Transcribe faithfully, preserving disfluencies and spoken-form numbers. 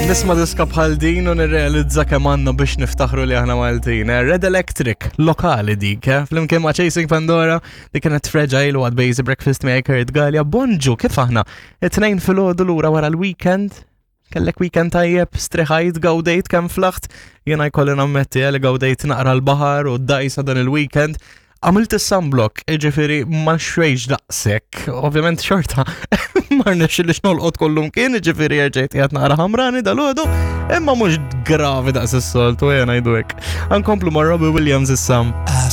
Nisma' diska bħal din u nirrealizza kemm għandna biex niftaħru li aħna Maltin. eh? Red Electric, lokali dik, eh? Flimkien ma' Chasing Pandora, dik kienet Fragile u għad Basic Breakfast miegħi Kurt Galea. Bonġu, kif aħna? It-tnejn filgħodu lura wara l-weekend. Kellek weekend tajjeb, striħajt, gawdejt kemm flaħt. Jena jkolli nammetti eh, li gawdejt naqra l-baħar u d-dajsa dan il-weekend. Għamilt is-sunblock, ġifiri ma xrejx daqsek, ovvjament xorta, ma rnexxilix nolqot kollum kien, ġifiri rġejt qiegħed naqra ħamrani dal-għodu, imma mhux gravi daqs is-soltu, jena ngħidu hekk. Ankomplu ma' Robbie Williams issa. I